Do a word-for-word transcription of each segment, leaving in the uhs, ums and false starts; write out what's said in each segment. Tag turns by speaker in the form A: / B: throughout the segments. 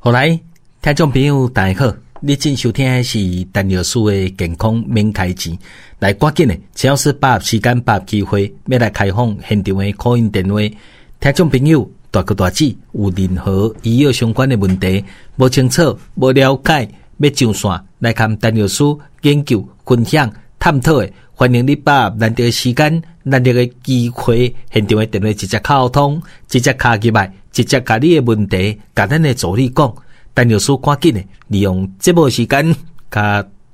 A: 好來，聽眾朋友大家好，你正收聽的是陳藥師的健康免開錢。來，趕緊的，陳老師把握時間，把握機會，欲來開放現場的 call in 電話。聽眾朋友，大哥大姊有任何醫藥相關的問題，無清楚、無了解，欲上線來共陳藥師研究、分享、探討的，歡迎你把握難得的時間、難得的機會，現場的電話直接敲通，直接敲入來，直接共你的問題，共咱的助理講。陳藥師趕緊的利用節目時間，共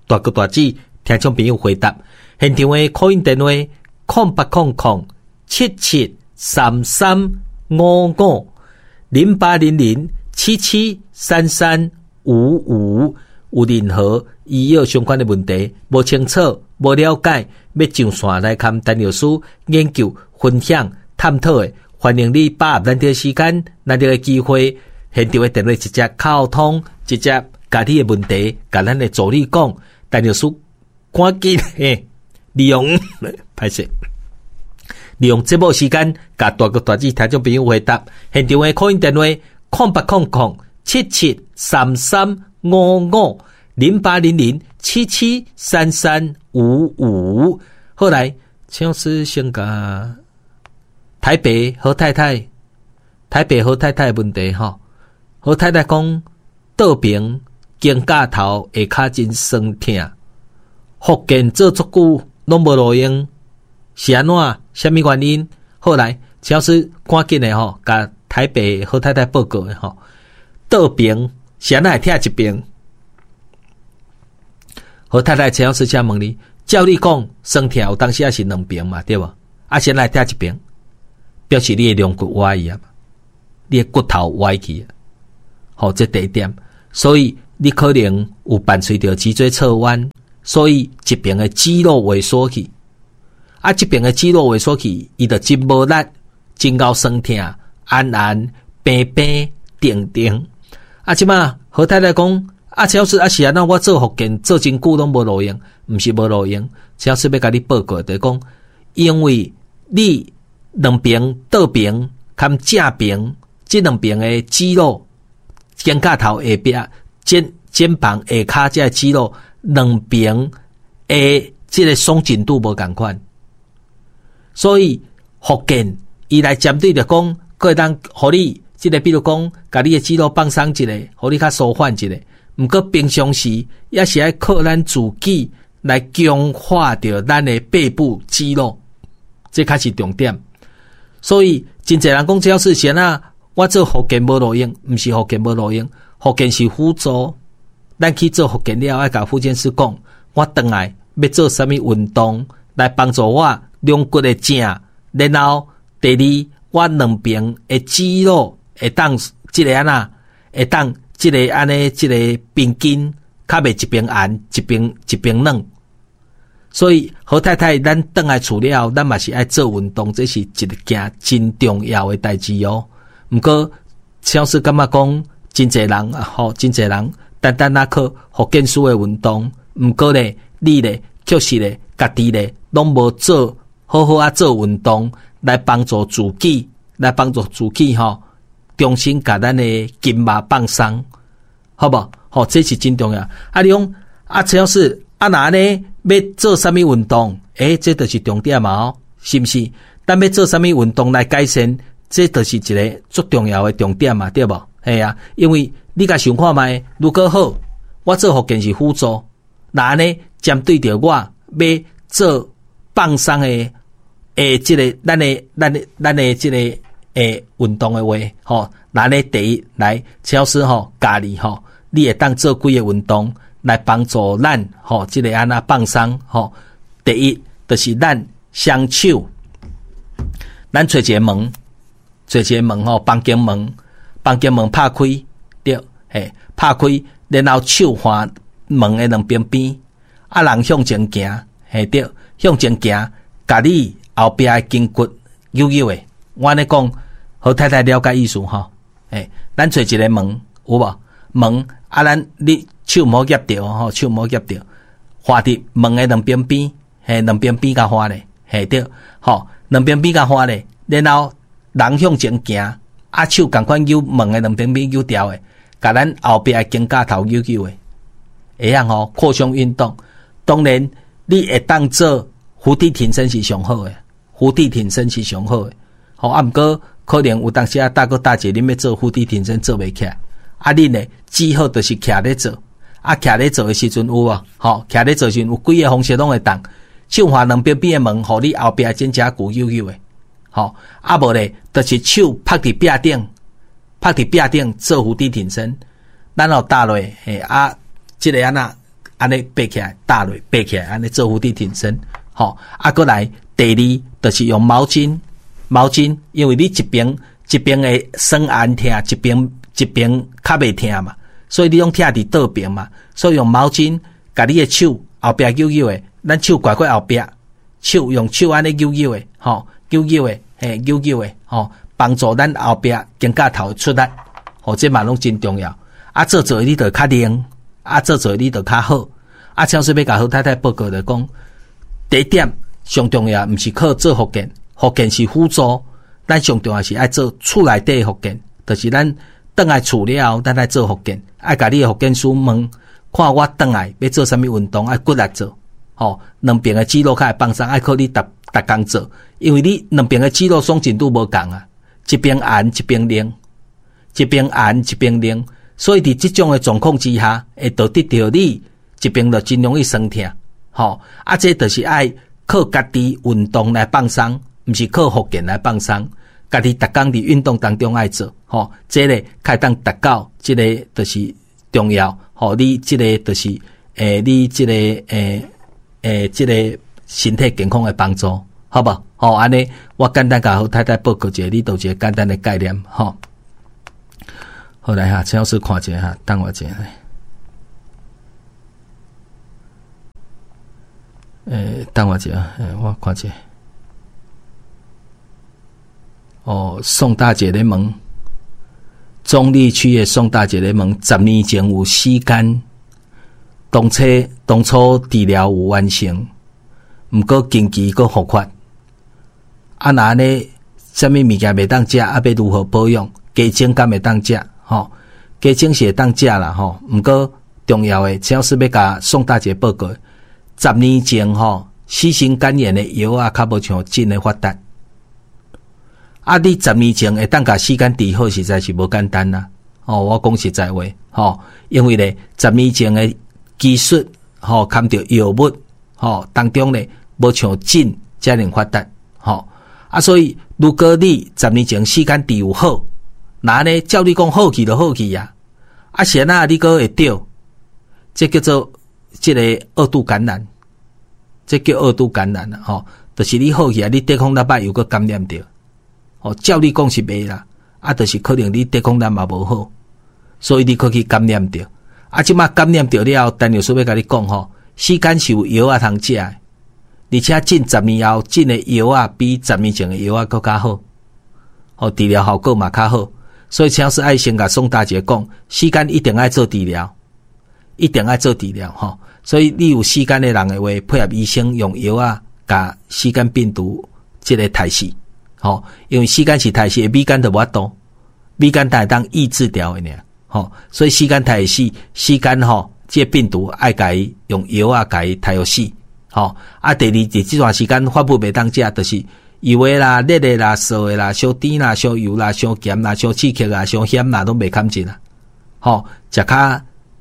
A: 大哥大姊聽眾朋友回答。現場的 call in 電話：空八空空七七三三五五零八零零七七三三五五。有任何醫藥相關的問題，無清楚、無了解，欲上線來共陳藥師研究、分享、探討的，歡迎你把握難得時間、難得的機會，現場的電話直接敲通，直接共你的問題，共咱的助理講，陳藥師趕緊嘿，利用歹勢，利用節目時間，共大哥大姊聽眾朋友回答。現場的 call in 電話：空八空空七七三三五五零八零零七七三三五五。後來，請師先共台北何太太，台北何太太的問題吼。何太太講，倒邊肩胛頭下跤真酸疼，復健做足久攏無路用，是按怎？啥物原因？後來，陳老師趕緊的吼，共台北何太太報告的吼，倒邊是按怎會疼一邊？何太太，陳老師請問你，照你講，酸疼有當時也是兩邊嘛，對無？啊，是按怎會疼一邊？表示你的龍骨歪去啊，你的骨頭歪去啊。好，這第一點，所以你可能有伴隨著脊椎側彎，所以這邊的肌肉萎縮去，啊，這邊的肌肉萎縮去，伊就真無力，真𠢕酸疼，按按平平定定。啊，這馬何太太講，啊，陳老師啊是按怎我做復健做真久攏無路用，毋是無路用，陳老師欲共你報告，就是講，因為你兩邊倒邊兼正邊這兩邊的肌肉。肩胛頭下壁、肩肩膀下跤這个肌肉兩邊的這個鬆緊度無仝款，所以復健伊來針對著講，閣會當予你這個，比如講，共你的肌肉放鬆一下，予你較舒緩一下。毋過平常時也是愛靠咱自己來強化著咱的背部肌肉，這較是重點。所以真濟人講這事情啊。我做復健無路用，毋是復健無路用，復健是輔助。咱去做復健了，愛共復健師講，我轉來欲做啥物運動來幫助我龍骨的正，然後第二，我兩邊的肌肉會當這个按怎，會當這个按呢，這个平均，較袂一邊硬一邊一邊軟。所以何太太，咱轉來厝了後，咱嘛是愛做運動，這是一件真重要的代誌哦。毋過，陳老師感覺講，真濟人吼，真濟人單單仔靠復健師的運動，毋過咧，你咧確實咧，家己咧攏無做好好仔做運動，來幫助自己，來幫助自己吼，重新共咱的筋肉放鬆，好無？吼，這是真重要。啊，你講啊，陳老師啊，若按呢欲做啥物運動？欸，這就是重點嘛，哦，是毋是？咱欲做啥物運動來改善？這就是一個足重要的重點嘛，對無？嘿啊，因為你共想看覓，如果好，我做復健是輔助，若按呢針對著我欲做放鬆的，的這个咱的咱的咱的這个欸運動的話，吼，若按呢第一來，陳老師吼教你吼，你會當做幾个運動來幫助咱吼，這个按怎放鬆吼。第一就是咱雙手，咱揣一个門。揣一个門吼，房間門，房間門拍開，對，嘿，拍開，然後手橫門的兩邊邊，啊，人向前行，嘿對，向前行，共你後壁的筋骨扭扭的。我按呢講，何太太了解意思吼？嘿，咱揣一个門，有無？門啊，咱你手毋好夾著吼，手毋好夾著，橫佇門的兩邊邊，嘿，兩邊邊共橫咧，嘿對，吼，兩邊邊共橫咧，然後人向前行，啊手仝款扭門的兩邊邊扭牢的，共咱後壁的肩胛頭扭扭的，會曉吼擴胸運動。當然，你會當做伏地挺身是上好的，伏地挺身是上好的。吼，啊，毋過可能有當時啊，大哥大姐，恁欲做伏地挺身做袂起來，啊，恁呢只好就是徛咧做，啊，徛咧做的時陣有無？吼，徛咧做時陣有幾个方式攏會當，手橫兩邊邊的門，予你後壁肩胛骨扭扭的，吼，啊無咧，就是手拍佇壁頂，拍佇壁頂做伏地挺身，咱後搭落，嘿啊，這个按怎按呢爬起來，搭落爬起來，按呢做伏地挺身，吼，啊，閣來第二，就是用毛巾。毛巾，因為你一邊一邊會酸按疼，一邊一邊較袂疼嘛，所以你攏疼佇倒邊嘛，所以用毛巾共你的手後壁扭扭的，咱手擱過後壁，手用手按呢扭扭的，吼，扭扭的，嘿，扭扭的，吼，幫助咱後壁肩胛頭出力，吼，這嘛攏真重要。啊，做做你就較靈，啊，做做你就較好。啊，像是欲共好太太報告來講，第一點上重要，毋是靠做復健。復健是輔助，咱上重要是愛做厝內底復健，就是咱轉來厝了後，咱愛做復健，愛共你的復健師問，看我轉來欲做啥物運動，愛骨力做，吼，兩邊的肌肉較會放鬆，愛靠你逐逐工做，因為你兩邊的肌肉鬆緊度無仝啊，一邊按一邊擰，一邊按一邊擰，所以佇這種的狀況之下，會導致著你一邊就真容易酸疼，吼，啊，這就是愛靠家己運動來放鬆。毋是靠復健來放鬆，家己逐工佇運動當中愛做，吼，這个較會當達到這个就是重要，吼，你這个就是，欸，你這个，欸，欸，這个身體健康的幫助，好無？吼，按呢，我簡單共好太太報告一下，你都有一个簡單的概念，吼。好來哈，陳老師看一下哈，等我一下。欸，等我一下，欸，我看一下。哦，宋大姐咧問，中壢區的宋大姐咧問，十年前有死肝，當初當初治療有完成，毋過近期閣復發。啊，若按呢，啥物物件袂當食，啊，欲如何保養？雞精敢會當食？吼，雞精是會當食啦，吼。毋過重要的，陳老師欲共宋大姐報告，十年前吼，C 型肝炎的藥仔較無像這麼發達。啊！你十年前會當共死肝治好，實在是無簡單啦。哦，我講實在話，吼，因為咧，十年前的技術，吼，含著藥物，吼，當中咧，無像這遮爾發達，吼。啊，所以如果你十年前死肝治有好，若按呢照你講好去就好去啊。啊，是按怎你閣會著？這叫做這個二度感染，這叫二度感染啦，吼，就是你好去啊，你抵抗力歹又閣感染著。哦，照你講是袂啦，啊，就是可能你抵抗力嘛無好，所以你閣去感染著。啊，這馬感染著了後，陳藥師欲共你講吼，死肝是有藥仔通食的，而且近十年後進的藥仔比十年前的藥仔閣較好，哦，治療效果嘛較好。所以請師愛先共宋大姐講，死肝一定愛做治療，一定愛做治療吼。所以你有死肝的人的話，配合醫生用藥仔共死肝病毒這个殺死。吼，因為死肝是殺死的，米肝就無法度，米肝才會當抑制掉的爾。吼，所以死肝殺會死，死肝吼，這个病毒愛共伊用藥仔共伊殺予死。吼，啊，第二，佇這段時間發物袂當食，就是油的啦、熱的啦、臊的啦、傷甜啦、傷油啦、傷鹹啦、傷刺激啦、傷險啦，攏袂堪進啦。吼，食較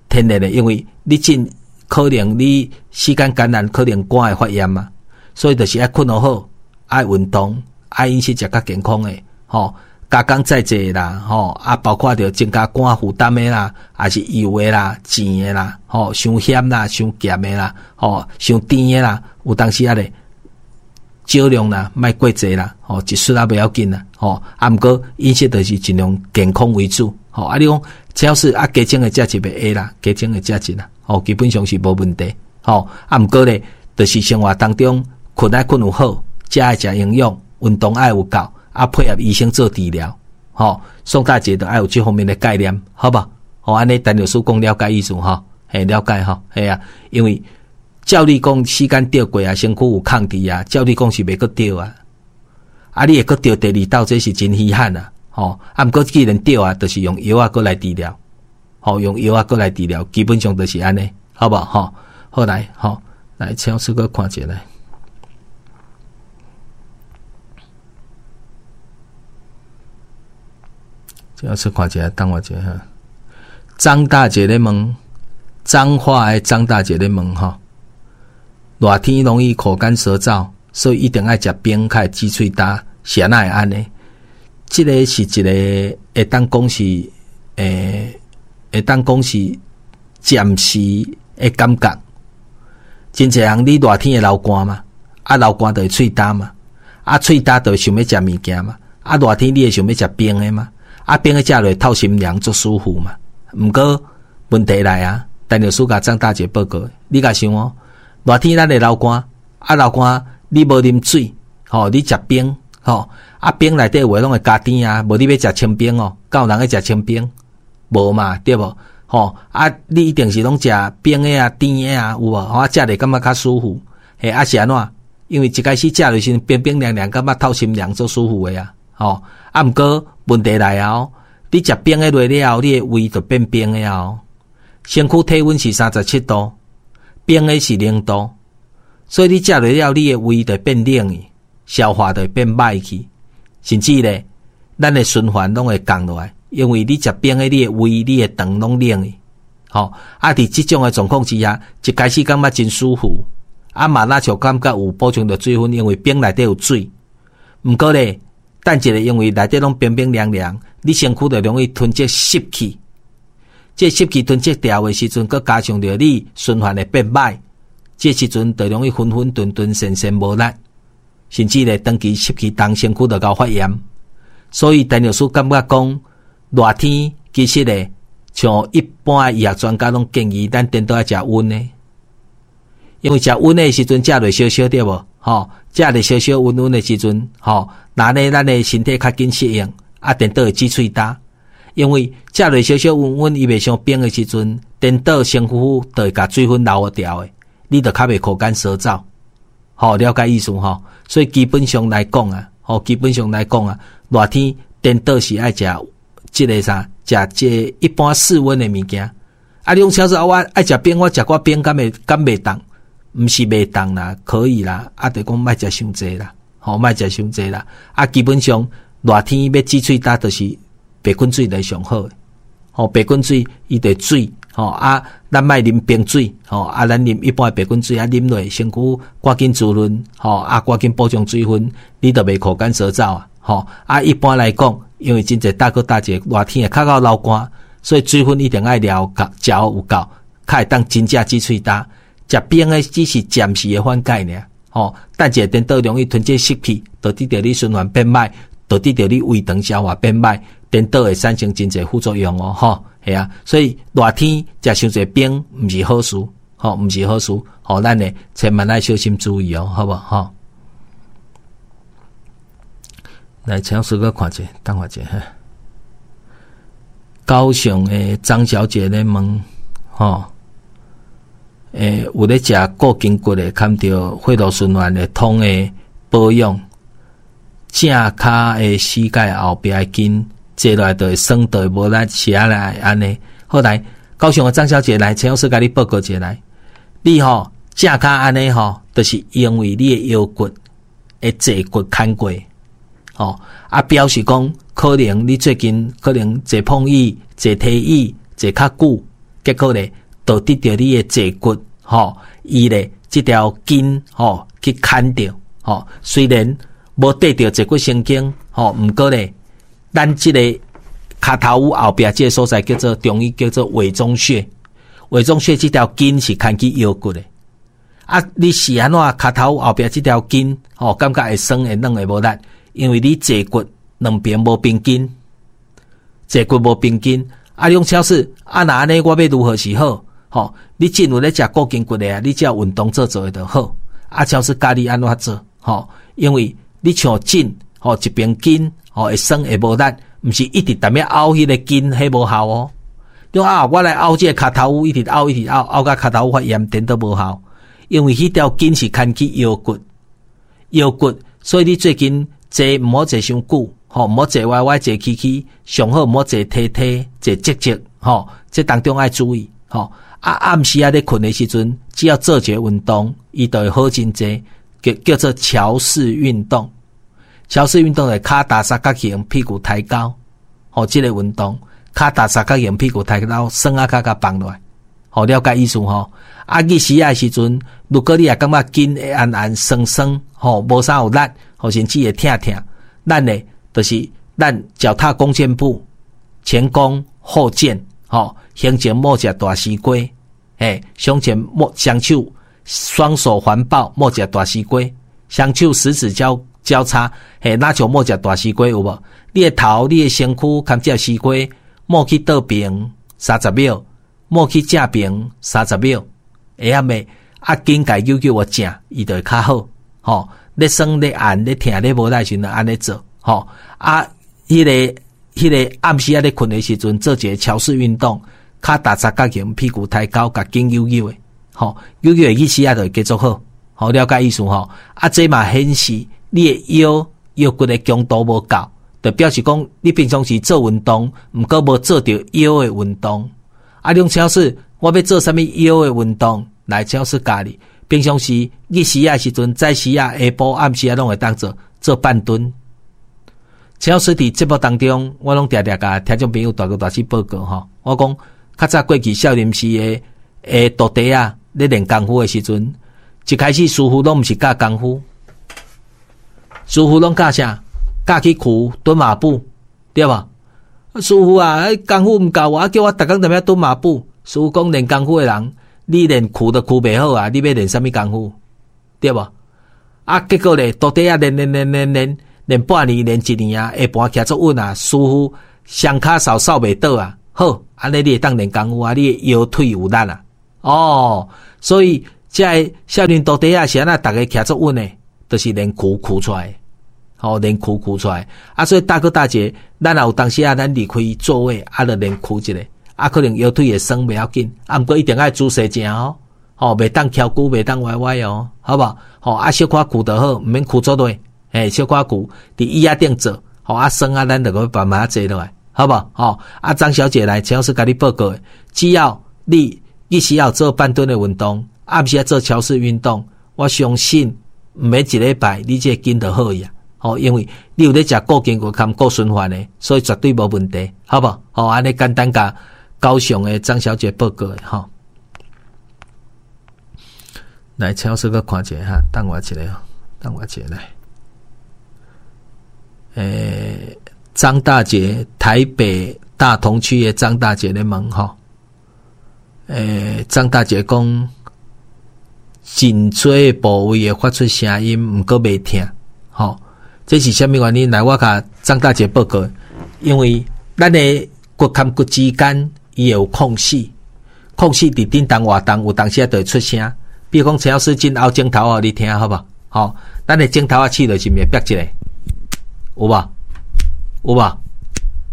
A: 天然的，因為你真可能你死肝感染，可能肝會發炎嘛，所以就是愛睏予好，愛運動。愛飲食食較健康的，吼，加工再濟啦，吼，啊，包括著增加肝負擔的啦，抑是油的啦、煎的啦，吼，傷鹹啦、傷鹹的啦，吼，傷甜的啦，有當時仔咧少量啦，莫過濟啦，吼，一撮仔袂要緊啦，吼，啊，毋過飲食就是盡量健康為主，吼，啊，你講只要是啊，雞精會食一袂會啦，雞精會食一啦，吼，基本上是無問題，吼，啊，毋過咧，就是生活當中睏愛睏有好，食愛食營養。運動愛有夠，啊，配合醫生做治療，吼，宋大姐都愛有這方面的概念，好無？吼，按呢陳律師講了解意思吼，嘿，了解吼，嘿啊，因為照你講時間著過啊，身軀有抗體啊，照你講是袂閣著啊，啊，你會閣著第二道，這是真稀罕啊，吼，啊，毋過既然著啊，就是用藥仔閣來治療，吼，用藥仔閣來治療，基本上就是按呢，好無吼？好來，吼，來，請師閣看一下來。請師看一下，等我一下哈。張大姐咧問，彰化的張大姐咧問吼，熱天容易口乾舌燥，所以一定愛食冰較會止喙焦，是按怎會按呢？這个是一个會當講是，欸，會當講是暫時的感覺。真濟人你熱天會流汗嘛，啊流汗就會喙焦嘛，啊喙焦就會想欲食物件嘛，啊熱天你會想欲食冰的嘛，啊冰的食落透心涼足舒服嘛。毋過問題來啊，陳律師共張大姐報告，你共想哦，熱天咱會流汗，啊流汗你無啉水，吼，你食冰，吼，啊冰內底有的攏會加甜啊，無你欲食清冰哦，敢有人欲食清冰？無嘛，對無？吼，啊你一定是攏食冰的啊、甜的啊，有無？吼，啊食咧感覺較舒服，嘿，啊是按怎？因為一開始食落時冰冰涼涼，感覺透心涼，足舒服的啊，吼，啊毋過問題來啊哦。你食冰的落了後，你的胃就變冰的哦。身軀體溫是三十七度，冰的是零度，所以你食落了，你的胃就變冷去，消化就會變歹去，甚至咧，咱的循環攏會降落來，因為你食冰的，你的胃、你的腸攏冷去，吼，啊，佇這種的狀況之下，一開始感覺真舒服，啊嘛若像感覺有補充著水分，因為冰內底有水，毋過咧，等一下，因為內底攏冰冰涼涼，你身軀就容易囤積濕氣。這濕氣囤積掉的時陣，閣加上著你循環會變歹，這時陣就容易昏昏沌沌、神神無力，甚至咧長期濕氣重，身軀就𠢕發炎。所以陳律師感覺講，熱天其實咧，像一般的醫學專家攏建議咱顛倒愛食溫的，因為食溫的時陣食落燒燒對無？吼，食落燒燒溫溫的時陣，吼，那呢咱的身體較緊適應，啊，顛倒會止喙焦。因為食落燒燒溫溫，伊袂傷冰的時陣，顛倒身軀就會共水分流掉的，你就較袂口乾舌燥。吼，了解意思吼？所以基本上來講啊，吼，基本上來講啊，熱天顛倒是愛食這个啥，食這個一般室溫的物件。啊，你講小子，我愛食冰，我食寡冰敢會敢袂凍？毋是袂凍啦，可以啦，啊，就講莫食傷濟啦，吼，莫食傷濟啦。啊，基本上熱天欲止喙焦，就是白滾水來上好的，吼，白滾水伊就水，吼啊，咱莫啉冰水，吼啊，咱啉一般的白滾水啊，啉落身軀趕緊滋潤，吼啊，趕緊補充水分，你就袂口乾舌燥啊，吼啊，一般來講，因為真濟大哥大姐熱天會較𠢕流汗，所以水分一定愛了夠，食有夠，較會當真正止喙焦。食冰的只是暫時的緩解爾，吼，等一下顛倒容易囤積濕氣，導致著你循環變歹，導致著你胃腸消化變歹，顛倒會產生真濟副作用哦，吼，係啊，所以熱天食傷濟冰毋是好事，吼，毋是好事，吼，咱呢千萬愛小心注意哦，好無吼？來，請師閣看者，等我一下。高雄的張小姐咧問，吼。欸，有咧食固筋骨的，含著血路循環會通的保養，正跤的膝蓋後壁的筋坐落來就會酸，就會無力，是按來按呢。好來，高雄的張小姐來，陳老師共你報告一下來，你吼正跤按呢吼，就是因為你的腰骨的坐骨牽過，吼啊，表示講可能你最近可能坐碰椅、坐梯椅坐較久，結果咧。導致著你的坐骨，吼，伊咧這條筋，吼，去牽著，吼，雖然無綴著坐骨神經，吼，毋過咧，咱這個跤頭趺後壁這个所在叫做中醫叫做委中穴，委中穴這條筋是牽去腰骨的。啊，你是按怎跤頭趺後壁這條筋，吼，感覺會酸會軟會無力，因為你坐骨兩邊無平筋，坐骨無平筋，啊，你講超市，啊，若按呢，我欲如何是好？吼，你進有咧食固筋骨的啊，你只要運動做做的就好。啊，超市教你按怎做，吼，因為你像頸，吼，一邊筋，吼，會酸會無力，毋是一直踮遐拗彼个筋，彼無效哦。你講啊，我來拗這个跤頭趺，一直拗一直拗，拗甲跤頭趺發炎，顛倒無效。因為彼條筋是牽去腰骨，腰骨，所以你最近坐毋好坐傷久，吼，毋好坐歪歪，坐曲曲，上好毋好坐梯梯，坐直直，吼，這當中愛注意，吼。啊，暗時仔咧睏的時陣，只要做一个運動，伊就會好真濟，叫叫做橋式運動。橋式運動係跤踏三角形，屁股抬高，吼，這個運動，跤踏三角形，屁股抬高，酸仔跤共放落來，吼，了解意思吼。啊，日時仔的時陣，如果你也感覺筋會按按酸酸，吼，無啥有力，吼，甚至會疼疼，咱呢，就是咱腳踏弓箭步，前弓後箭，吼，胸前摸一大西瓜，嘿，胸前摸雙手，雙手環抱摸一大西瓜，雙手十指交交叉，嘿，若像摸一大西瓜有無？你的頭、你的身軀含這西瓜摸去倒爿三十秒，摸去正爿三十秒，會曉未？啊，筋共扭扭予正，伊就會較好，吼。咧酸咧按咧疼咧無力時陣，按呢做，吼。啊，彼个彼个暗時仔咧睏的時陣，做一个橋式運動，跤踏三角形，屁股抬高，共筋扭扭的，吼，扭扭的意思仔就會繼續好，吼，了解意思吼。啊，這嘛顯示你的腰腰骨的強度無夠，就表示講你平常時做運動，毋過無做著腰的運動。啊，兩請示我欲做啥物腰的運動？來，請示教你。平常時日時仔時陣，早時仔、下晡、暗時仔攏會當做做半蹲。請示佇節目當中，我攏定定共聽眾朋友大哥大姊報告吼。我講較早過去少林寺的的徒弟仔咧練功夫的時陣，一開始師傅攏毋是教功夫，師傅攏教啥？教去跍蹲馬步，對無？師傅啊，功夫毋夠啊，叫我逐工踮遐蹲馬步。師傅講練功夫的人，你連跍都跍袂好啊！你欲練啥物功夫？對無？啊，結果咧，徒弟仔練練練練練練半年，練一年啊，下盤徛足穩啊，師傅雙跤掃掃袂倒啊。好，按呢你會當練功夫啊，你的腰腿有力啊。哦，所以這个少林徒弟仔是按怎逐个徛足穩的，就是練跍跍出來，吼，練跍跍出來。啊，所以大哥大姐，咱若有當時啊，咱離開座位，啊，就練跍一下。啊，可能腰腿會酸袂要緊，啊，毋過一定愛姿勢正哦，吼，袂當蹺龜，袂當歪歪哦，好無？吼，啊，小可跍就好，毋免跍足落，嘿，小可跍，佇椅仔頂坐，吼，啊，酸啊，咱就閣慢慢坐落來，好無？吼，啊，張小姐來，陳老師共你報告，只要你日時要做半蹲的運動，暗時做橋式運動，我相信毋免一禮拜，你這個筋就好呀。吼，因為你有咧食固筋骨兼固循環的，所以絕對無問題，好無？吼，按呢簡單共高雄的張小姐報告的吼，來，陳老師閣看一下哈，等我一下，等我一下來。欸，張大姐，台北大同區的張大姐咧問吼，欸，張大姐講，頸椎部位會發出聲音，毋過袂疼，吼，這是啥物原因？來，我共張大姐報告，因為咱的骨和骨之間，伊會有空隙，空隙佇振動活動，有當時就會出聲。比如講，陳老師真拗指頭予你聽，好無？吼，咱的指頭仔試落是毋會煏一下，有無？有無？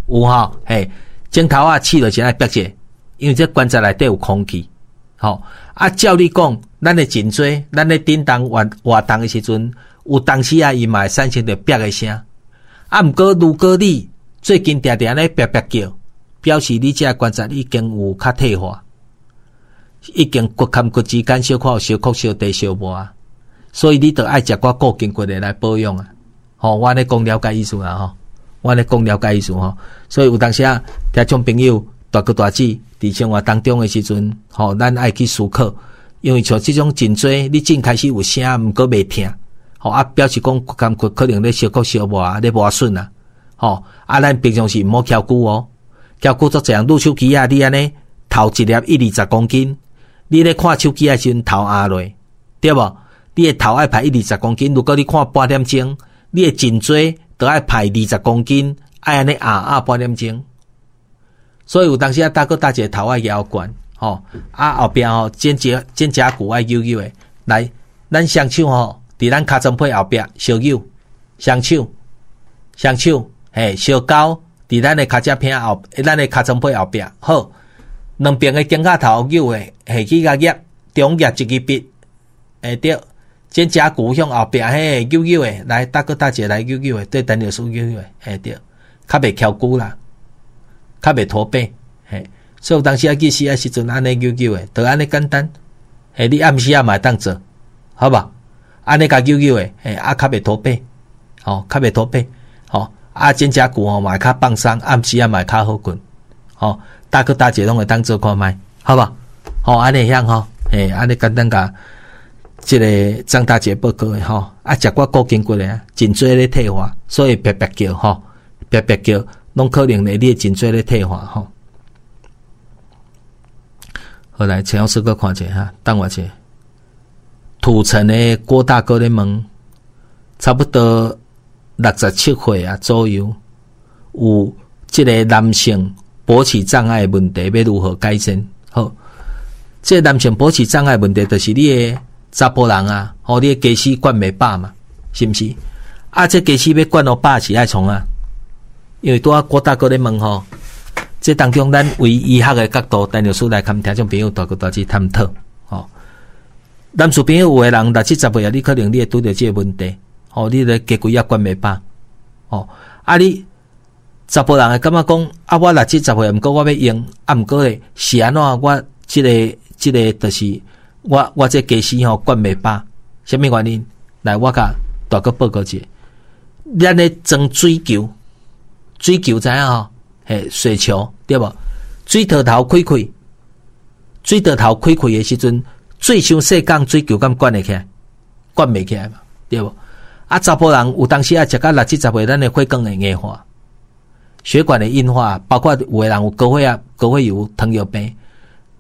A: 有吼，嘿，指頭仔試落是愛煏一下，因為這關節內底有空氣，吼。啊，照理講，咱的頸椎，咱咧振動活活動的時陣，有當時啊，伊嘛會產生著煏的聲。啊，毋過如果你最近定定咧煏煏叫，表示你這個關節已經有較退化，已經骨和骨之間小可有相剌相地相磨，所以你著愛食寡固筋骨的來保養啊。吼，我按呢講了解意思啦吼，我按呢講了解意思吼。所以有當時啊，聽眾朋友大哥大姊佇生活當中的時陣，吼，咱愛去思考，因為像這種頸椎，你正開始有聲，毋過袂疼，吼啊，表示講骨和骨可能咧相剌相磨，咧磨損啊，吼啊，咱平常時毋好蹺龜哦。蹺龜足濟人，擼手機仔，你按呢頭一粒一二十公斤，你咧看手機仔時陣頭壓落，對無？你的頭愛排一二十公斤，如果你看半點鐘，你的頸椎都愛排二十公斤，愛按呢壓壓半點鐘。所以有當時啊，大哥大姐頭愛搖懸，吼啊後壁吼肩胛肩胛骨愛扭扭的，來，咱雙手吼佇咱尻川皮後壁相扭，雙手，雙手，嘿，相交。佇咱的尻脊骿後，咱的尻川皮後壁，好，兩邊的肩胛頭扭的下去共壓，中壓一支筆，會對，肩胛骨向後壁嘿扭扭的，來大哥大姐來扭扭的，對陳老師扭扭的，會對，較袂蹺龜啦，較袂駝背，嘿，所以有當時仔去死的時陣按呢扭扭的，就按呢簡單。嘿，你暗時仔嘛會當做，好無？按呢共扭扭的，嘿，啊較袂駝背，吼，較袂駝背，吼，啊肩胛骨吼嘛會較放鬆，暗時仔嘛會較好睏，吼，大哥大姐攏會當做看覓，好無？吼，按呢會曉吼，嘿，按呢簡單共這个張大姐報告的吼，啊，食寡固筋骨的啊，頸椎咧退化，所以煏煏叫吼，煏煏叫，攏可能咧你的頸椎咧退化吼。好來，陳老師閣看者哈，等我者。土城的郭大哥咧問，差不多六十七歲啊左右，有這个男性勃起障礙的問題，欲如何改善？好，這个男性勃起障礙問題，就是你的查埔人啊，吼，你的家私灌袂飽嘛，是毋是？啊，這家私欲灌予飽是愛創啊？因為拄仔郭大哥咧問吼，這當中咱為醫學的角度，陳老師來共聽眾朋友大哥大姐探討，吼。男士朋友有的人六七十歲啊，你可能你會拄著這个問題，吼，你的雞胿仔灌袂飽，吼，啊你查埔人會感覺講，啊我六七十歲，毋過我欲用，啊毋過咧是按怎我這个這个就是我我這家私吼灌袂飽，啥物原因？來，我共大哥報告一下，咱咧裝水球，水球知影吼？嘿，雪球對無？水槽頭開開，水槽頭開開的時陣，水傷細管，水球敢灌會起來？灌袂起來嘛，對無？啊，查埔人有當時啊，食到六七十歲，咱的血管會硬化，血管的硬化，包括有的人有高血壓、高血油、糖尿病，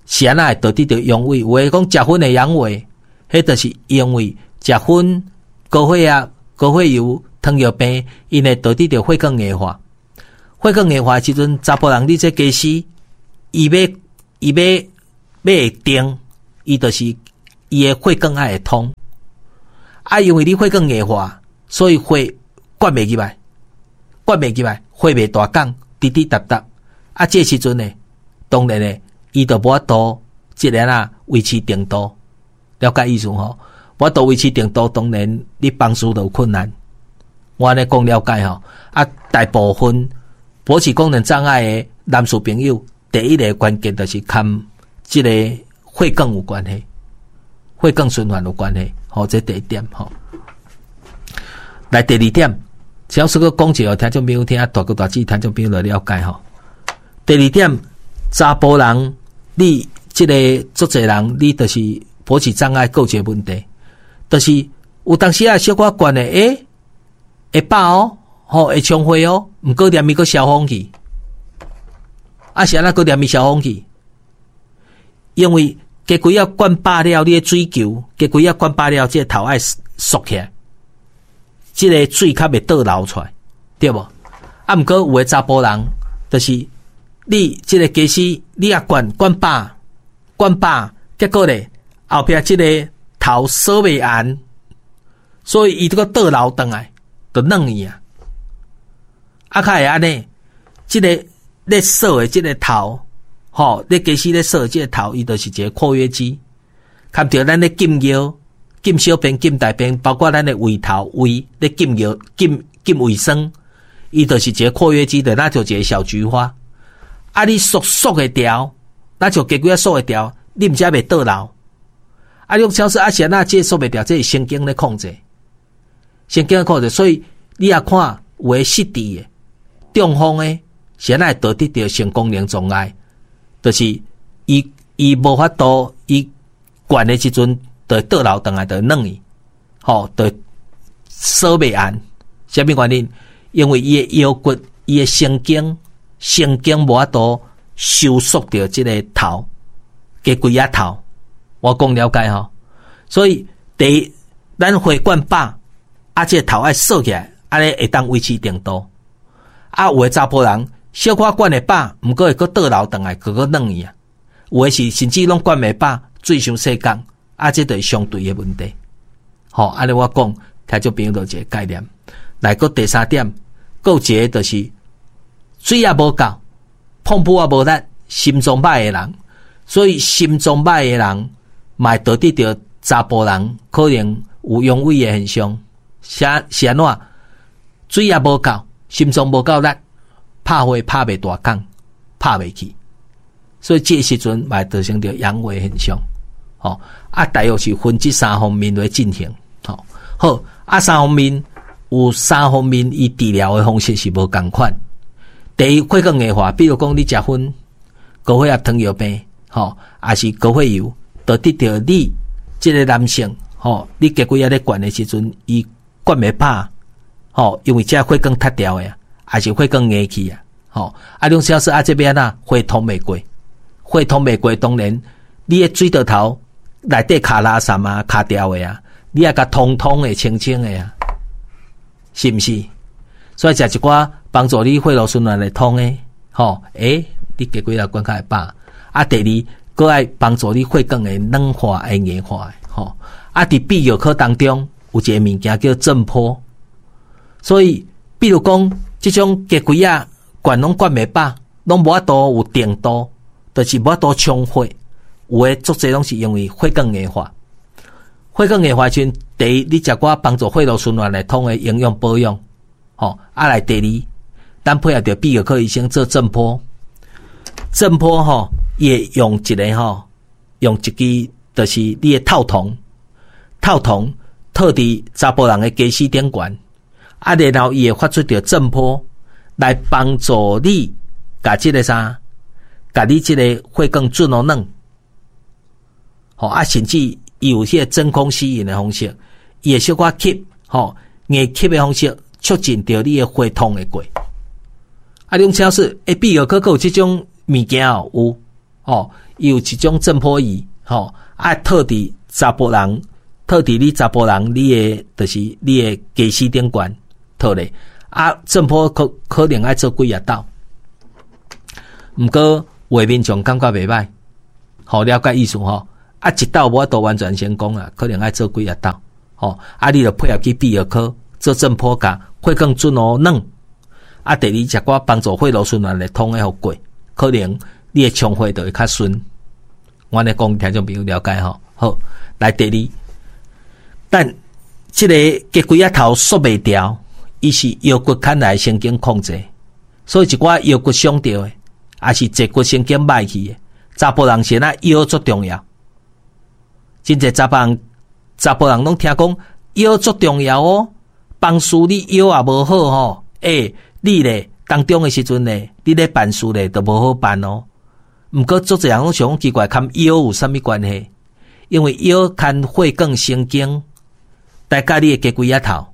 A: 是按怎會導致著陽痿？有的講食薰會陽痿，彼就是因為食薰、高血壓、高血油、糖尿病，𪜶會導致著血管硬化。血管硬化的時陣，查埔人你這家私，伊欲伊欲欲會定，伊就是伊的血管愛會通。啊，因為你血管硬化，所以血灌袂入來，灌袂入來，血袂大管，滴滴答答。啊，這時陣呢，當然呢，伊就無法度這个啊維持程度，了解意思吼？無法度維持程度，當然你幫助就有困難。我按呢講了解吼。啊，大部分勃起功能障礙的男士朋友，第一个關鍵就是佮這个血管有關係，血管循環有關係。吼，這第一點吼。來第二點，小說閣講一下，聽眾朋友聽，大哥大姊聽眾朋友來了解吼。第二點，查埔人，你這个足濟人，你就是勃起障礙，閣有一個問題，就是有當時啊，小可灌的，欸，會飽哦，吼，會充血哦，毋過連伊閣消風去，啊是按怎閣連伊消風去？因為雞胿仔灌飽了，你的水球，雞胿仔灌飽了，這个頭愛縮起來，這个水較袂倒流出來，對無？啊，毋過有的查埔人，就是你這个家私，你也灌灌飽，灌飽，結果咧後壁這个頭鎖袂絚，所以伊這個倒流轉來，就軟去啊。啊，較會按呢，這个咧鎖的這个頭，吼，咧家私咧鎖的這个頭，伊就是一个括約肌，含著咱咧禁尿、禁小便、禁大便，包括咱的胃頭胃咧禁尿、禁禁胃酸，伊就是一个括約肌，就若像一个小菊花。啊，你縮縮會牢，若像雞胿仔縮會牢，你毋才袂倒流。啊，你講小說啊，是按怎這縮袂牢？這是神經咧控制，神經咧控制，所以你也看有的失智的、中風的，是按怎會導致著性功能障礙？就是伊伊無法度，伊灌的時陣就會倒流轉來，就會軟去，吼，就鎖袂絚。啥物原因？因為伊的腰骨、伊的神經、神經無法度收縮著這个頭，雞胿仔頭。我講了解吼，所以第一，咱血灌飽，啊，這个頭愛鎖起來，按呢會當維持程度。啊，有的查埔人小可灌會飽，毋過會閣倒流轉來，閣閣軟去啊。有的是甚至攏灌袂飽，水傷細管，啊，這就是相對的問題。吼，按呢我講，聽眾朋友就一個概念。來，閣第三點，閣有一個就是水也無夠，膨噗也無力，心臟歹的人，所以心臟歹的人嘛會導致著查埔人可能有陽痿的現象。是是按怎？水也無夠，心臟無夠力，拍火拍袂大管，拍袂去。所以這個時陣嘛會造成著陽痿現象，吼啊，大約是分這三方面來進行，吼好啊，三方面有三方面，伊治療的方式是無仝款。第一，血管硬化，比如講你食薰、高血壓、糖尿病，吼，抑是高血油，就得著你這个男性，吼，你雞胿仔咧灌的時陣，伊灌袂飽，吼，因為這血管塌掉的啊，抑是血管硬去啊，吼，啊，兩小時啊，這欲按怎血通袂過，血通袂過，當然你的水道頭內底卡垃圾啊，卡掉的啊，你愛共通通的、清清的啊，是毋是？所以食一寡幫助你血路循環會通的，吼，欸，你雞胿仔灌較會飽。啊，第二，閣愛幫助你血管會軟化、會硬化的，吼。啊，佇泌尿科當中有一个物件叫震波，所以比如講，這種雞胿仔灌攏灌袂飽，攏無法度有定度，就是無法度充血。有的足濟攏是因為血管硬化。血管硬化時陣，第一，你食寡幫助血路循環來通的營養保養，吼。啊來第二，咱配合著泌尿科醫生做震波，震波吼，伊會用一个吼，用一支就是你的套筒，套筒套佇查埔人的家私頂懸，啊，然後伊會發出著震波來幫助你，共這个啥，共你這个血管轉予軟，吼啊，甚至伊有彼个真空吸引的方式，伊會小可吸，吼硬吸的方式，促進著你的血通會過。啊，你講請示，欸，泌尿科閣有這種物件哦，有，吼，伊有一種震波儀，吼，啊，套佇查埔人，套佇你查埔人，你的就是你的家私頂懸套咧，啊，震波可可能愛做幾仔斗，毋過有的民眾感覺袂䆀，好了解意思吼，啊，一斗無法度完全成功啊，可能愛做幾仔斗，吼，啊，你著配合去泌尿科做震波共血管轉予軟。啊，第二食寡幫助血路循環會通的予過，可能你的充血就會較順。我按呢講，聽眾朋友了解吼。好，來第二，但這个雞胿仔頭縮袂牢，伊是腰骨牽來神經控制，所以一寡腰骨傷著的，抑是坐骨神經䆀去的，查埔人是按怎腰足重要。真濟查埔人，查埔人攏聽講腰足重要哦，辦事你腰也無好吼，欸，你咧當中的時陣咧，你咧辦事咧就無好辦哦。毋過足濟人攏想講奇怪，佮腰有啥物關係？因為腰牽血管神經，來佮你的雞胿仔頭。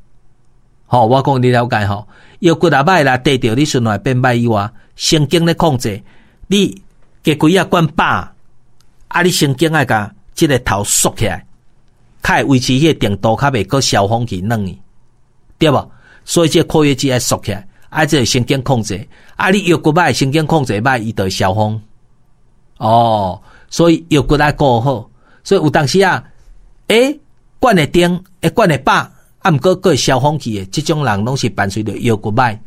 A: 吼，我講你了解吼，腰骨若䆀啦，綴著你循環變䆀以外，神經咧控制，你雞胿仔灌飽，啊，你神經愛共這个頭縮起來，較會維持彼个程度，較袂閣消風去軟去，對無？所以這個括約肌愛縮起來，啊，這個神經控制，啊，你腰骨䆀，神經控制䆀，伊就會消風。哦，所以腰骨愛顧好，所以有當時啊，欸，灌會定，會灌會飽，啊，毋過閣會消風去的，這種人攏是伴隨著腰骨䆀，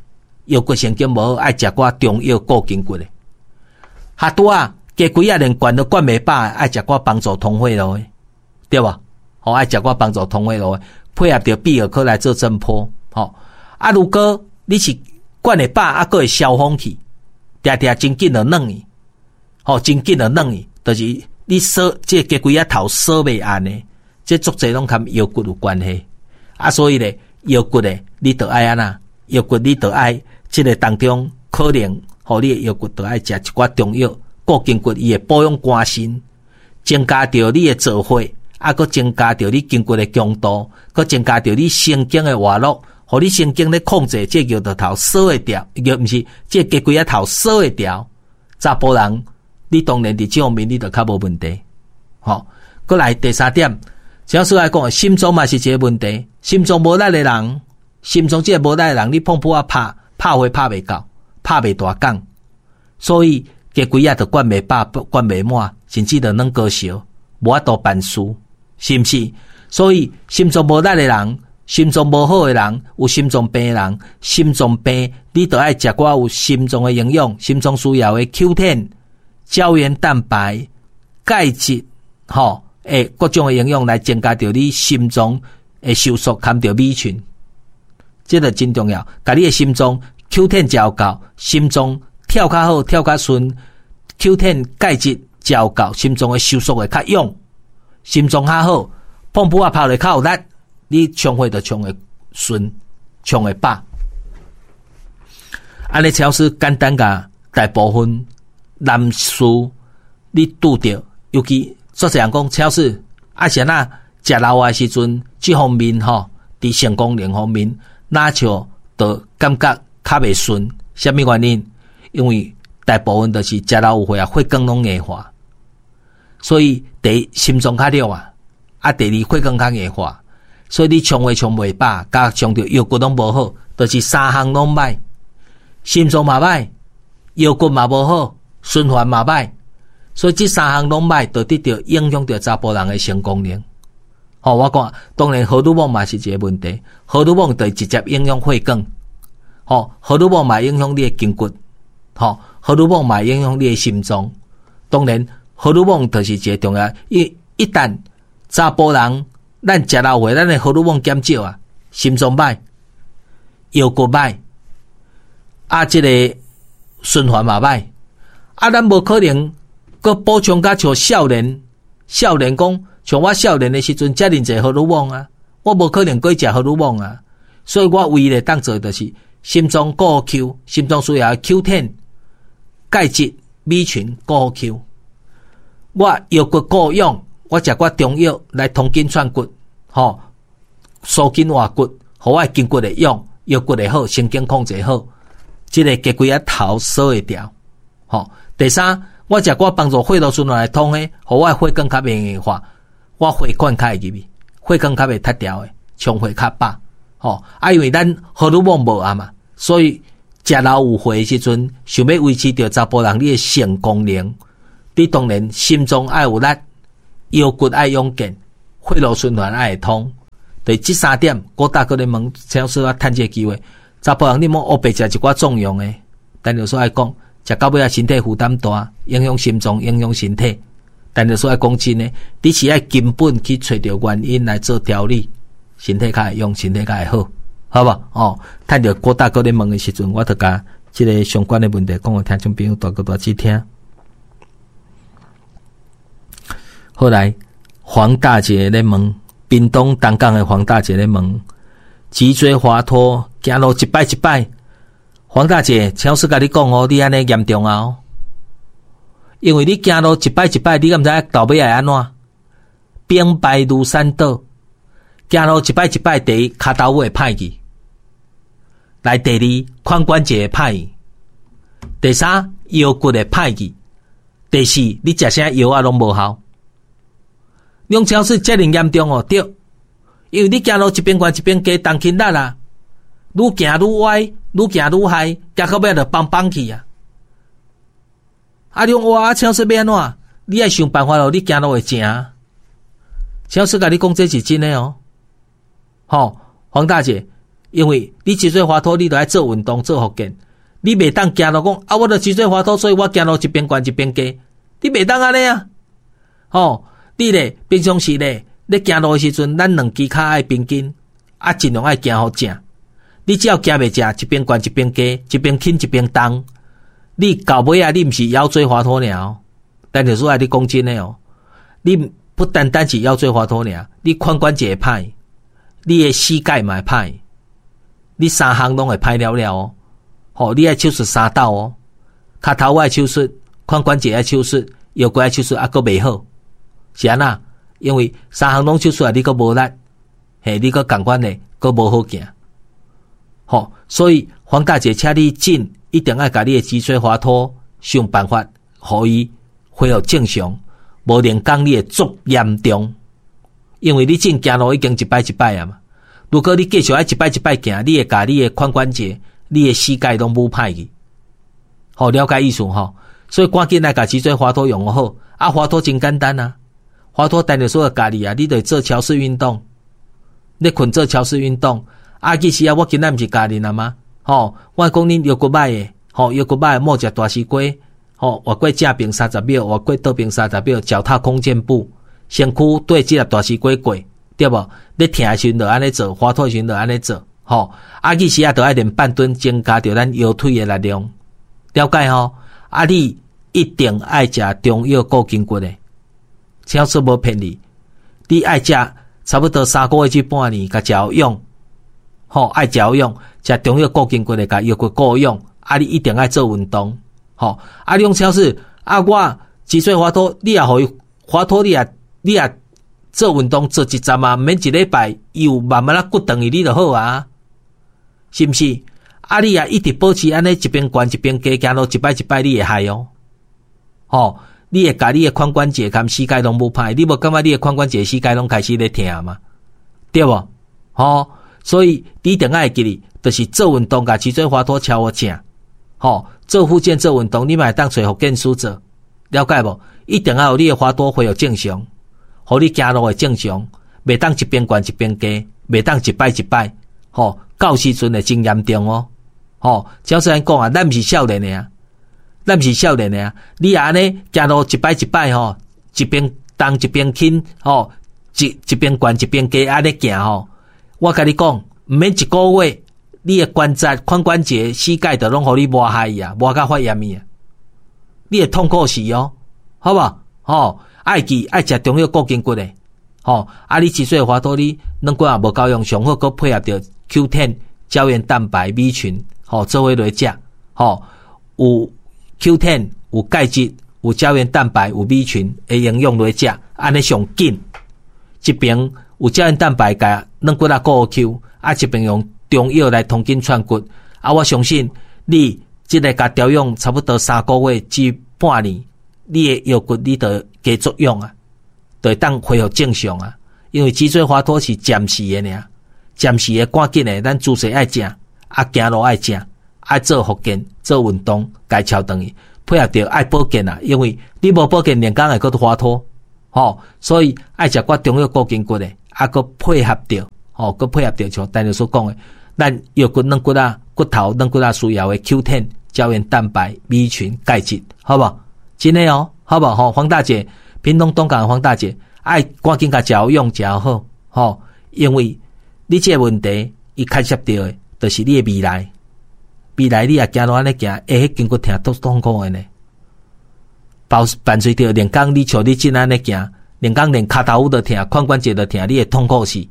A: 腰骨神經無好，愛食寡中藥顧筋骨的。哈拄啊，雞胿仔連灌都灌袂飽，愛食寡幫助通血路的，對無？吼，愛食寡幫助通血路的，配合著泌尿科來做震波，吼。啊，如果你是灌會飽，啊，閣會消風去，定定真緊就軟去，吼，真緊就軟去，就是你鎖這個雞胿仔頭鎖袂按的，這足濟攏佮腰骨有關係。啊，所以咧，腰骨咧，你著愛按怎？腰骨你著愛這个當中可能，予你的腰骨著愛食一寡中藥，顧筋骨，伊會保養肝腎，增加著你的造血，啊，閣增加著你筋骨的強度，閣增加著你神經的活絡，予你神經咧控制這個腰頭鎖會牢，藥毋是這個雞胿仔頭鎖會牢。查埔人，你當然佇這方面你就較無問題。吼，閣來第三點，只要說來講，心臟嘛是一個問題。心臟無力的人，心臟這个無力的人，你碰噗仔拍拍火拍袂到，拍袂大港，所以雞胿仔就灌袂飽，灌袂滿，甚至就軟高燒，無法度辦事，是毋是？所以心臟無力的人，心臟無好的人，有心臟病的人，心臟病你著愛食寡有心臟的營養，心臟需要的 Q 十、膠原蛋白、鈣質，吼，欸，各種的營養來增加著你心臟的收縮，含著米群，這個真重要。共你的心臟 Q 十食有夠，心臟跳較好，跳較順， Q 十 钙質食有夠，心臟的收縮會較勇，心臟較好，碰噗仔拍落較有力，你衝血就衝會順，衝會飽。按呢陳老師簡單共大部分男士你拄著，尤其足濟人講，陳老師啊是按怎食老的時陣，這方面吼，佇性功能方面，若像就感覺較袂順，啥物原因？因為大部分就是食老有歲啊，血管攏硬化，所以第一心臟較弱啊，啊第二血管較硬化，所以你衝血衝袂飽，加上著腰骨攏無好，就是三項攏歹，心臟嘛歹，腰骨嘛無好，循環嘛歹，所以這三項攏歹，就得著影響著查埔人的性功能。吼，我講當然荷爾蒙嘛是一個問題，荷爾蒙就直接影響血管，吼，荷爾蒙嘛影響你的筋骨，吼，荷爾蒙嘛影響你的心臟。當然，荷爾蒙就是一個重要，一一旦查埔人咱食老歲，咱的荷爾蒙減少啊，心臟歹，腰骨歹，啊，這個循環嘛歹，啊，咱無可能閣補充甲像少年，少年講，像我少年的時陣，遮爾濟荷爾蒙啊，我無可能閣食荷爾蒙啊，所以我唯一會當做就是心臟顧 Q，心臟需要 Q 十 鈣質 B 群顧 Q，我腰骨顧勇，我食寡中藥來通筋串骨，吼，舒筋活骨，予我的筋骨會勇，腰骨會好，神經控制好，這個雞規仔頭鎖會牢，吼。第三，我食寡幫助血路循環來通的，予我的血管較袂硬化，我血管較會入去，血管較袂脫掉的，充血較飽，吼。啊，因為咱荷爾蒙無啊嘛，所以食老有歲的時陣，想欲維持著查埔人你的性功能，你當然心臟愛有力，腰骨愛勇健，血路循環愛會通。對這三點，我大閣咧問，請師我趁這個機會，查埔人你莫烏白食一寡縱容的，但就說愛講，食到尾仔身體負擔大，影響心臟，影響身體。但就說愛講真的，你是愛根本去揣著原因來做調理，身體較會勇，身體較會好，好無？哦，趁著郭大哥咧問的時陣，我就共這个相關的問題講予聽眾朋友大哥大姊聽。後來黃大姐咧問，屏東東港的黃大姐咧問，脊椎滑脫行路一擺一擺。黃大姐，請師共你講哦，你按呢嚴重啊！因為你行路一擺一擺，你敢知到尾會按怎？兵敗如山倒。行路一擺一擺，第一跤頭會歹去，來第二髖關節會歹去，第三腰骨會歹去，第四你食啥藥仔攏無效。兩超是遮爾嚴重哦，對，因為你行路一邊懸一邊加重輕力啦，愈行愈歪，愈行愈害，行到尾就枋枋去啊！啊，你講哇，請說欲按怎？你愛想辦法囉，你行路會正。請說共你講這是真的哦，吼，黃大姐，因為你脊椎滑脫，你著愛做運動做復健，你袂當行路講啊，我著脊椎滑脫，所以我行路一邊懸一邊加，你袂當按呢啊，吼。你咧平常時咧，咧行路的時陣，咱兩支跤愛平均，啊，盡量愛行予正。你只要行袂正，一邊懸一邊加，一邊輕一邊重，你到尾仔，你毋是腰椎滑脫爾哦。但是說愛你講真的哦，你不單單是腰椎滑脫爾，你髖關節會歹，你的膝蓋嘛會歹，你三項攏會歹了了哦。吼，你愛手術三道哦，跤頭愛手術，髖關節愛手術，腰骨愛手術，啊，閣袂好。是按怎？因為三項攏手術啊，你閣無力，嘿，你閣仝款的，閣無好行。吼，所以黃大姐，請你緊一定愛共你的脊椎滑脫想辦法，予伊恢復正常，無然講你會足嚴重。因為你正行路已經一擺一擺啊嘛，如果你繼續愛一擺一擺行，你會共你的髖關節、你的膝蓋攏舞歹去。好，了解意思吼？所以趕緊來共脊椎滑脫用好，啊，滑脫真簡單啊！滑脫單就說教你啊，你著做橋式運動，你睏做橋式運動。啊，其實啊，我今仔毋是教恁啊嗎？吼，我講恁腰骨歹的，吼，腰骨歹莫食大西瓜，吼，活過正爿三十秒，活過倒爿三十秒，腳踏空箭步，身軀對這粒大西瓜過，對無？你疼的時陣就按呢做，滑脫的時陣就按呢做，吼。啊，其實啊，著愛練半蹲，增加著咱腰腿的力量，了解吼？啊，你一定愛食中藥顧筋骨的，請說無騙你，你愛食差不多三個月至半年，共食有用，吼，愛食有用，食中藥顧筋骨的，共腰骨顧用，啊，你一定愛做運動，吼，啊，你講超市，啊，我脊椎滑脫，你也予伊滑脫，你也你也做運動做一陣啊，毋免一禮拜，伊有慢慢仔骨轉去，你就好啊，是毋是？啊，你也一直保持按呢一邊懸一邊低行路，一擺一擺你會害哦。吼，你會共你的髖關節佮膝蓋攏無歹，你無感覺你的髖關節、膝蓋攏開始咧疼嗎？對無？吼，所以你一定愛記得，就是做運動，共脊椎滑脫超好正，吼，做復健做運動，你嘛會當揣復健師做，了解無？一定愛予你的滑脫恢復正常，予你行路會正常，袂當一邊懸一邊低，袂當一擺一擺，吼，到時陣會真嚴重哦。吼，照雖然講啊，咱毋是少年的啊，咱毋是少年的啊。你若按呢行路一擺一擺吼，一邊重一邊輕吼，一一邊懸一邊低按呢行吼，我共你講，毋免一個月，你的關節、髖關節、膝蓋就攏予你磨害去啊，磨甲發炎去啊，你會痛苦死哦，好無？吼，愛記愛食中藥顧筋骨的，吼，啊，你脊椎滑脫你軟骨也無夠用，上好閣配合著 Q 十 膠原蛋白 B 群。吼，做伙來食，吼，有 Q 十，有鈣質，有膠原蛋白，有 B 群的營養來食，按呢上緊。一邊有膠原蛋白共軟骨仔顧 Q，啊，一邊用中藥來通筋串骨。啊，我相信你這个共調養差不多三個月至半年，你的腰骨你就加作用啊，就會當恢復正常啊。因為脊椎滑脫是暫時的爾，暫時的趕緊的，咱姿勢愛正。啊，行路愛正，愛做復健、做運動，共撨轉去，配合著愛保健啊。因為你無保健，連工會閣滑脫，吼，所以愛食寡中藥顧筋骨的，啊，閣配合著，吼，閣配合著像陳律師講的，咱腰骨軟骨仔、骨頭軟骨仔需要的 Q 十、膠原蛋白、B 群、鈣質，好無？真的哦，好無？吼，黃大姐，屏東東港的黃大姐，愛趕緊共食有用，食好，吼，因為你這個問題，伊牽涉著的。就是你的未來，未來你若行路按呢行，會彼筋骨疼足痛苦的呢。包伴隨著連工你像你這按呢行，連工連跤頭趺都疼，髖關節都疼，你會痛苦死。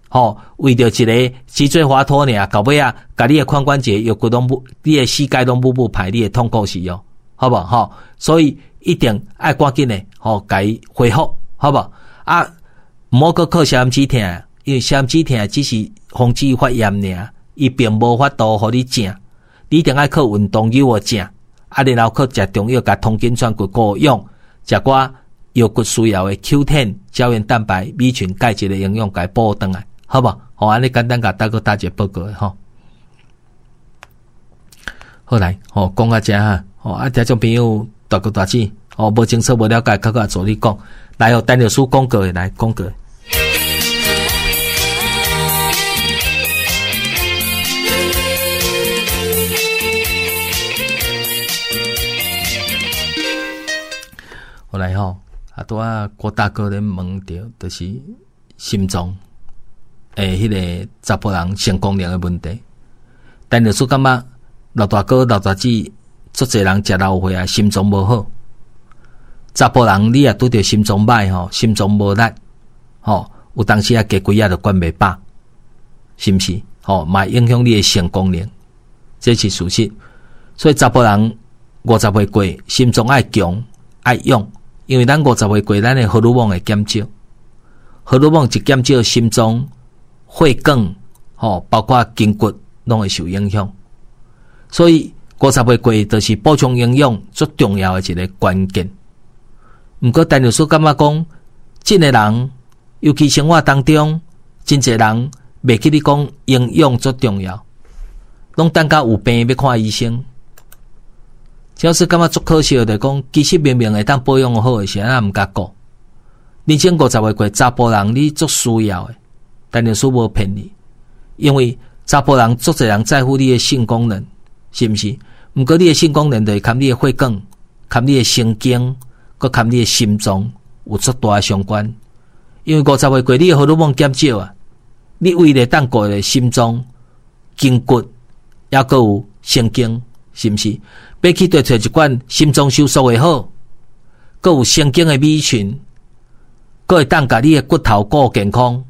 A: 吼，為著一个脊椎滑脫爾，到尾仔，共你的髖關節腰骨攏無，你的膝蓋攏母母歹，你會痛苦死哦，好無吼？所以一定愛趕緊的吼，共伊恢復，好無？啊，毋好閣靠消炎止疼，因為消炎止疼只是防止發炎爾，伊並無法度予你正，你一定愛靠運動扭予正，啊，然後靠食中藥共通筋串骨顧養，食寡腰骨需要的 Q 十、膠原蛋白、B 群、鈣質的營養，共伊補轉來，好無？吼，按呢簡單共大哥大姐報告吼。好來，吼，講到遮哈，吼，啊，聽眾朋友大哥大姊，吼，無清楚無了解，較閣助你講，來哦，陳律師廣告的來廣告。後來吼，啊，拄仔郭大哥咧問著，就是心臟的彼个查埔人性功能的問題。陳律師感覺老大哥、老大姊，足濟人食老歲啊，心臟無好。查埔人你若拄著心臟歹吼，心臟無力吼，有當時啊加幾仔就管袂飽，是毋是？吼，嘛會影響你的性功能，這是事實。所以查埔人五十歲過，心臟愛強愛勇。因為咱五十歲過，咱的荷爾蒙會減少，荷爾蒙一減少，心臟、血管，吼，包括筋骨，攏會受影響。所以五十歲過，就是補充營養最重要的一个關鍵。毋過，陳律師感覺講，這个人，尤其生活當中，真濟人袂記得講營養最重要，攏等到有病欲看醫生。只要是感覺足可惜的，就講其實明明會當保養好的，是按怎毋共顧？人生五十歲過，查埔人你足需要的，陳律師無騙你，因為查埔人足濟人在乎你的性功能，是毋是？毋過你的性功能就是含你的血管、含你的神經、閣含你的心臟有足大的相關。因為五十歲過，你的荷爾蒙減少啊，你唯一會當顧的心臟、筋骨，抑閣有神經，是毋是？欲去著揣一款心臟收縮會好，閣有神經的 B 群，閣會當共你的骨頭顧健康。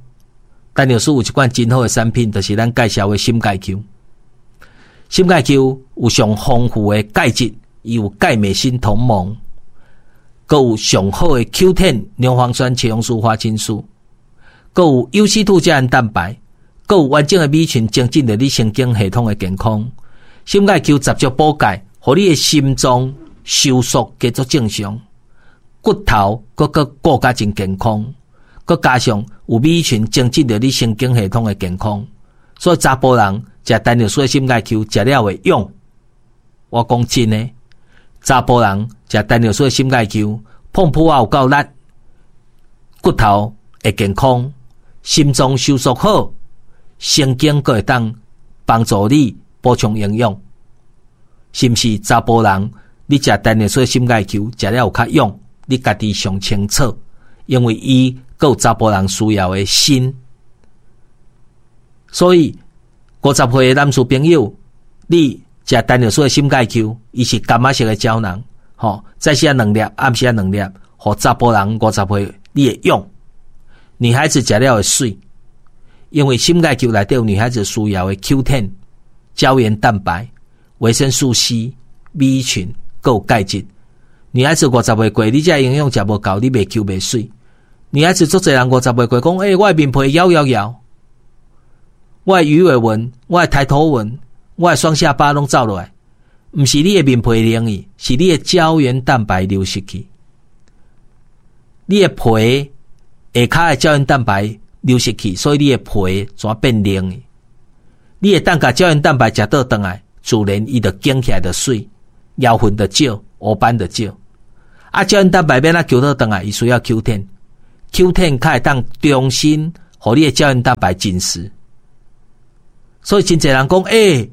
A: 陳藥師有一款真好的產品，就是咱介紹的心鈣球。心鈣球有上豐富的鈣質，伊有鈣鎂鋅銅錳，閣有上好的 Q 十 牛磺酸茄紅素花青素，閣有優烯兔膠原蛋白，閣有完整的 B 群，增進著你神經系統的健康。心鈣球集中補鈣，予你的心臟收縮繼續正常，骨頭閣閣顧甲真健康，閣加上有 B 群增進著你神經系統的健康，所以查埔人食陳藥師的心鈣球食了會勇。我講真的，查埔人食陳藥師的心鈣球，碰撲仔有夠力，骨頭會健康，心臟收縮好，神經閣會當幫助你補充營養。是毋是查埔人？你食陳藥師的心鈣球，食了有較勇，你家己上清楚，因為伊閣有查埔人需要的鋅。所以五十歲的男士朋友，你食陳藥師的心鈣球，伊是柑仔色的膠囊，吼，早時兩粒，暗時兩粒，予查埔人五十歲你會勇。女孩子食了會媠，因為心鈣球內底有女孩子需要的 Q 十 膠原蛋白、維生素 C、B 群，閣有鈣質。女孩子五十歲過，你這營養食無夠，你袂 Q 袂媠。女孩子足濟人五十歲過，講，欸，我的面皮搖搖搖，我的魚尾紋，我的抬頭紋，我的雙下巴攏走落來，毋是你的面皮冷去，是你的膠原蛋白流失去。你的皮下跤的膠原蛋白流失去，所以你的皮怎變冷去？你會當共膠原蛋白食倒轉來，自然伊就緊起來就媠，油份就少，烏斑就少。啊，膠原蛋白欲按怎求倒轉來，伊需要 Q 十，Q 十 較會當重新予你的膠原蛋白緊實。所以真濟人講，欸，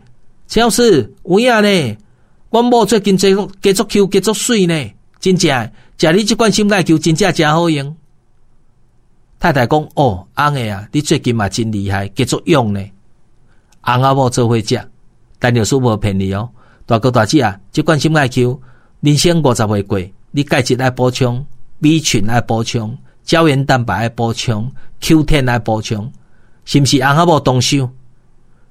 A: 陳老師有影呢？阮某最近加加足 Q 加足媠呢，真正食你這款心鈣球真正誠好用。太太講，哦，翁的啊，你最近嘛真厲害，加足勇呢。翁仔某做伙食，陳藥師無騙你哦。大哥大姐啊，這款心鈣球，人生五十歲過，你鈣質愛補充，B 群愛補充，膠原蛋白愛補充，Q 十 愛補充，是毋是翁仔某動手？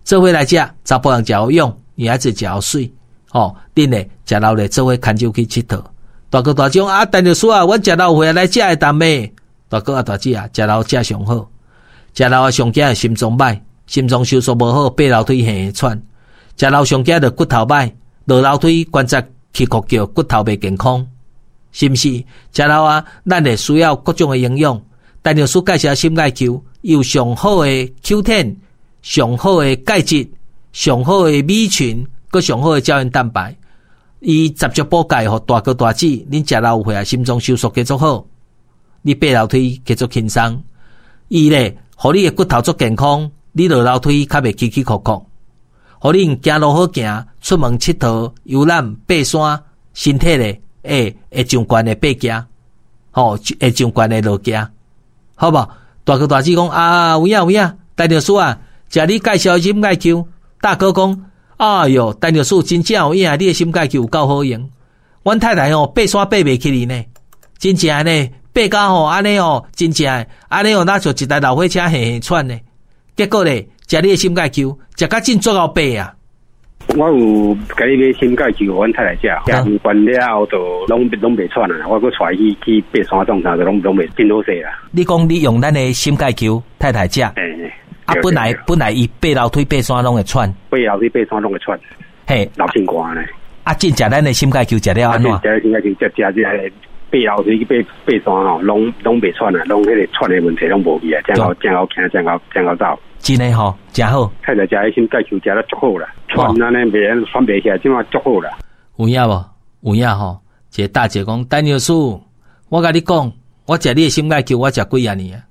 A: 做伙來食，查埔人食有勇，女孩子食有媠，吼，恁咧食老咧做伙牽手去𨑨迌。大哥大姐啊，陳藥師啊，阮食老歲來食會當袂？大哥啊，大姐啊，食老食上好，食老啊上驚的心臟歹，心臟收縮無好，爬樓梯會喘。食老上驚著骨頭歹，落樓梯關節起哭叫，骨頭袂健康，是毋是？食老啊，咱會需要各種的營養。陳藥師介紹心鈣球，有上好的 Q 十，上好的鈣質，上好的 B 群，閣上好的膠原蛋白。伊集中補鈣，予大哥大姊，恁食老歲啊，心臟收縮繼續好，你爬樓梯繼續輕鬆。伊咧，予你的骨頭足健康，你落樓梯較袂起起伏伏。予恁行路好行，出門𨑨迌、遊覽、爬山，身體咧會會上懸的爬行，吼，會上懸的落行，好無？大哥大姊講啊，有影有影，陳藥師啊，食你介紹的心鈣球，大哥講，哎喲，陳藥師真正有影，你的心鈣球有夠好用。阮太太吼爬山爬袂起來呢，真正呢，爬到吼按呢吼，真正按呢吼，若像一台老火車嘿嘿喘呢。結果咧，食你的心鈣球，食甲真足夠爬啊！
B: 我有共你買心鈣球，予阮太太食，食完了後就攏攏袂喘啊！我閣帶伊去去爬山創啥，就攏攏袂真好勢啦。
A: 你講你用咱的心鈣球，太太食，
B: 欸
A: 啊，本來本來伊爬樓梯爬山攏會喘，
B: 爬樓梯爬山攏會喘，
A: 嘿，
B: 流清汗呢。
A: 啊，進食咱的心鈣球食了按怎？
B: 食心鈣球食食這個爬樓梯去爬爬山吼，攏攏袂喘啊，攏彼個喘的問題攏無去啊，真好真好行，真好真好走。
A: 真的吼，誠好。
B: 太太食彼心鈣球食得足好啦，喘按呢袂喘袂起來，這馬足好啦。
A: 有影無？有影吼？一個大姐講，陳藥師，我共你講，我食你的心鈣球，我食幾仔年啊？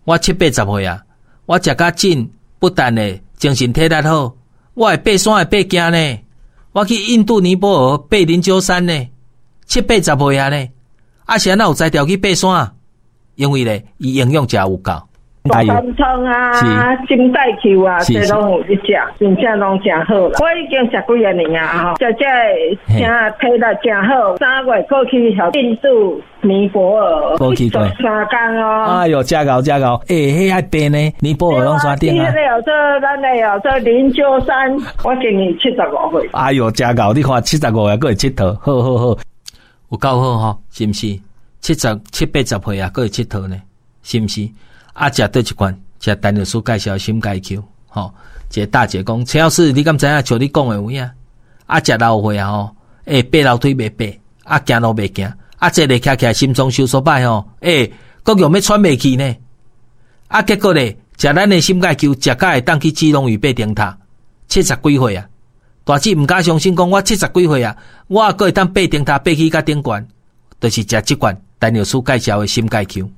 A: 我七八十歲啊，我食甲緊，不但會精神體力好，我會爬山會爬行呢。我去印度尼泊爾爬靈鹫山呢，七八十歲啊呢。啊，是按怎有才調去爬山？因為咧，伊營養誠有夠。
C: 大参汤啊，心钙球啊，這攏有咧食，真正攏誠好啦。我已經食幾仔年啊，吼，食這個誠體力誠好。三月過去印度尼泊爾，
A: 過去過
C: 三工哦。
A: 哎喲，真𠢕真𠢕，欸，彼愛爬呢，尼泊爾攏山頂啊。
C: 彼个叫做咱的叫做靈鷲山，我今年七十五歲。
A: 哎喲，真𠢕，你看七十五歲閣會𨑨迌，好好好，有夠好吼，是毋是？七十七八十歲啊，閣會𨑨迌呢，是毋是？啊，食佗一罐，食陳藥師介紹心鈣球，吼，一个大姐講，陳藥師，你敢知影？像你講的有影？啊，食老歲啊吼，欸，爬樓梯袂爬，啊，行路袂行，啊，坐咧徛起來心臟收縮擺吼，欸，閣用欲喘袂去呢？啊，結果咧，食咱的心鈣球，食甲會當去基隆嶼爬燈塔，七十幾歲啊！大姊毋敢相信，講我七十幾歲啊，我閣會當爬燈塔爬去較頂懸，就是食這罐陳藥師介紹的心鈣球。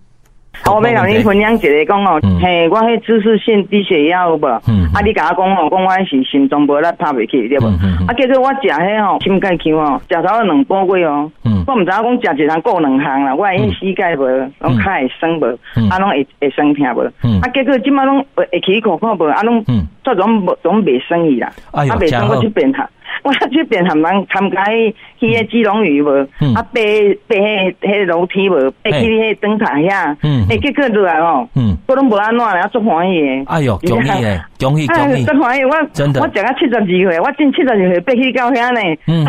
D: 我欲共你分享一个講哦，嘿，我彼姿勢性低血壓有無？啊，你共我講吼，講我彼是心臟無力拍袂起，對無？啊，結果我食彼吼心鈣球吼，食差不多兩個月哦。我毋知影講食一項顧兩項啦，我彼膝蓋無，攏跤會酸無，啊，攏會會酸疼無。啊，結果這擺攏會起苦苦無，啊，攏煞攏無攏袂酸去啦。啊，袂酸我這邊哈。我這邊含人參加去彼基隆嶼無，啊爬爬彼彼樓梯無，爬去彼燈塔遐，欸結果落來吼，我攏無按怎咧，足歡喜的。
A: 哎喲，恭喜的，恭喜恭喜！
D: 足歡喜，我我食到七十二歲，我真七十二歲爬去到遐呢。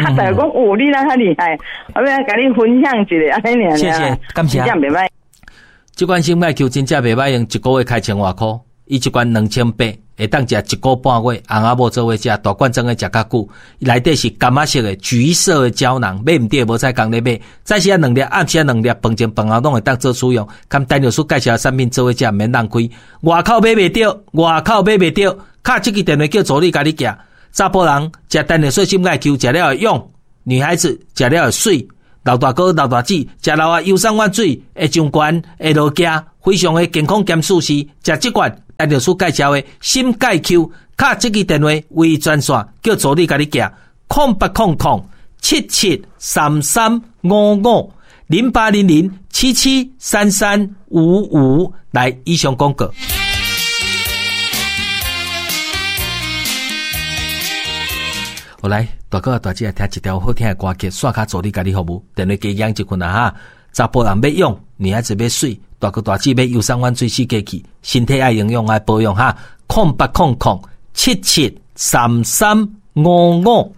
D: 啊，大家講哦，你哪遐厲害？我欲共你分享一下，按呢爾。
A: 謝謝，感謝。
D: 真正袂歹。
A: 這款心鈣球真正袂歹用，一個月開千外箍，伊一罐兩千八。會當食一個半月，翁仔某做伙食，大罐裝的食較久。內底是柑仔色的橘色的膠囊，買毋著無彩工咧買。早時仔兩粒，暗時仔兩粒，飯前飯後攏會當做使用。佮陳藥師介紹的產品做伙食，毋免浪費。外口買袂著，外口買袂著，敲這支電話叫助理共你寄。查埔人食陳藥師心鈣球，食了會勇；女孩子食了會媠。老大哥、老大姊食老啊，游山玩水會上懸，會落崎，非常的健康兼舒適。食這罐。陳藥師介紹的心鈣球，敲這支電話為專線，叫助理共你寄，空八空空七七三三五五零八零零七七三三五五，來以上廣告。好來，大哥大姐來聽一條好聽的歌曲，煞跤助理共你服務，電話加養一份啊哈。查埔人欲勇，女孩子欲媠，大哥大姊欲遊山玩水四界去，身體愛營養愛保養哈。空八空空七七三三五五。